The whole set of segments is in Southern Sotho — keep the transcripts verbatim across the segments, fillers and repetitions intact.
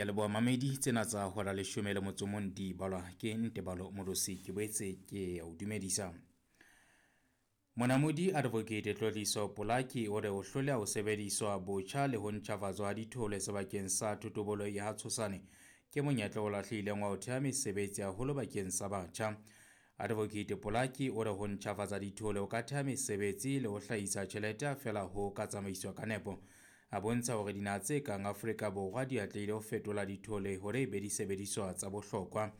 Ke leboha mamedi tsena tsa hora leshome le motso mong di balwa ke Ntebalo Morosi. Ke boetse ke o dumedisa. Monamodi Advocate Tlotliso Polaki o re ho hloleha ho sebediswa botjha le ho ntjhafatswa ha dithole sebakeng sa thotobolo ya ha Tshosane ke monyetla o lahlehileng wa ho theha mesebetsi haholo bakeng sa batjha. Advocate Polaki o re ho ntjhafatsa dithole ho ka theha mesebetsi le ho hlahisa tjhelete ha feela ho ka tsamaiswa ka nepo. A bontsha hore dinaha tse kang Afrika Borwa di atlehile ho fetola dithole hore e be disebediswa tsa bohlokwa.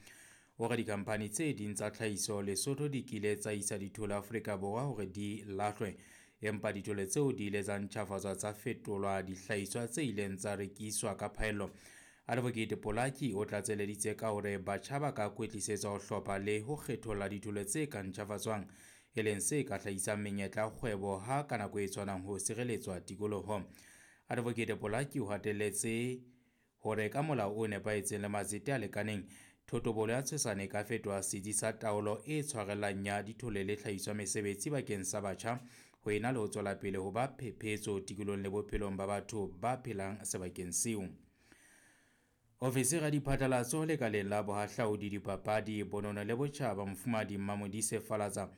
O re dikhamphani tse ding tsa tlhahiso Lesotho di kile tsa isa dithole Afrika Borwa hore di lahlwe, empa dithole tseo di ile tsa ntjhafatswa tsa fetolwa dihlahiswa tse ileng tsa rekiswa ka phaello. Advocate Polaki o tlatseleditse ka hore batjha ba ka kwetlisetswa ho hlopha le ho kgetholla dithole tse ka ntjhafatswang, e leng se ka hlahisang menyetla ya kgwebo ha ka nako e tshwanang ho sireletswa tikoloho. Advocate Polaki o hatelletse hore ka molao o nepahetseng le matsete a lekaneng, thotobolo ya Tshosane e ka fetoha setsi sa taolo e tshwarellang ya dithole le tlhahiso ya mesebetsi bakeng sa batjha ho ena le ho tswela pele ho ba phephetso tikolohong le bophelong ba batho ba phelang sebakeng seo. Ofisiri ya diphatlalatso lekaleng la bohahlaudi, dipapadi, bonono le botjhaba Mofumahadi Mmamodise Falatsa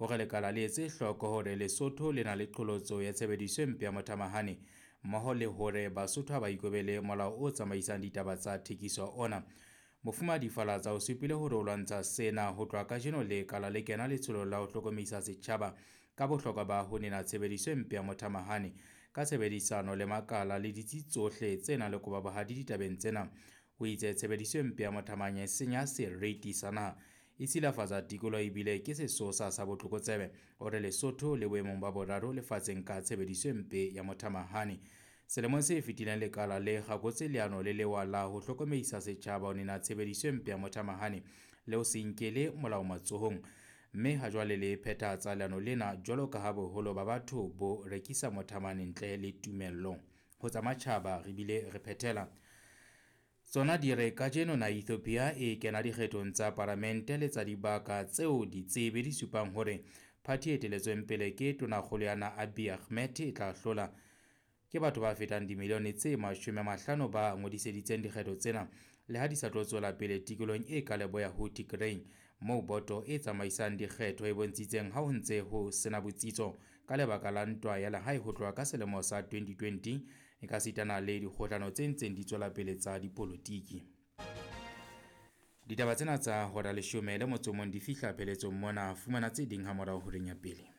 o re lekala le etse hloko hore Lesotho le na le qholotso ya tshebediso e mpe ya mothamahane mmoho le hore Basotho ha ba ikobele molao o tsamaisang ditaba tsa thekiso ona. Mofumahadi Falatsa o supile hore o lwantsha sena ho tloha kajeno lekala le kena letsholong la ho hlokomedisa setjhaba ka bohlokwa ba ho nena tshebediso e mpe ya mothamahane ka tshebedisano le makala le ditsi tsohle tse nang le kobabohadi ditabeng tsena. O itse tshebediso e mpe ya mothamahane e senya seriti sa naha, e silafatsa tikoloho ebile ke sesosa sa botlokotsebe. O re Lesotho le boemong ba boraro lefatsheng ka tshebediso e mpe ya mothamahane. Selemong se fetileng lekala le kgakotse leano le lewa la ho hlokomedisa setjhaba ho nena tshebediso e mpe ya mothamahane le ho se nkele molao matsohong, mme hajwale le phethahatsa leano lena jwalo ka ha boholo ba batho bo rekisa mothamahane ntle le tumello. Ho tsa matjhaba re bile re phethela tsona di re kajeno na Ethiopia e kena dikgethong tsa palamente le tsa dibaka tseo ditsebi di supang hore phathi e eteletsweng pele ke tonakgolo ya naha Abiy Ahmed e tla hlola. Ke batho ba fetang dimilione tse mashome a mahlano ba ngodiseditseng dikgetho tsena le ha di sa tlo tswela pele tikolohong e ka leboya ho Tigray, moo boto e tsamaisang dikgetho e bontshitseng ha ho ntse ho sena botsitso ka lebaka la ntwa ya lehae ho tloha ka selemo sa twenty twenty e ka sitana le dikgohlano tse ntseng di tswela pele tsa dipolotiki. Ditaba tsena tsa hora leshome le motso o mong di fihla pheletsong mona. Fumana tse ding ha morao horeng ya pele.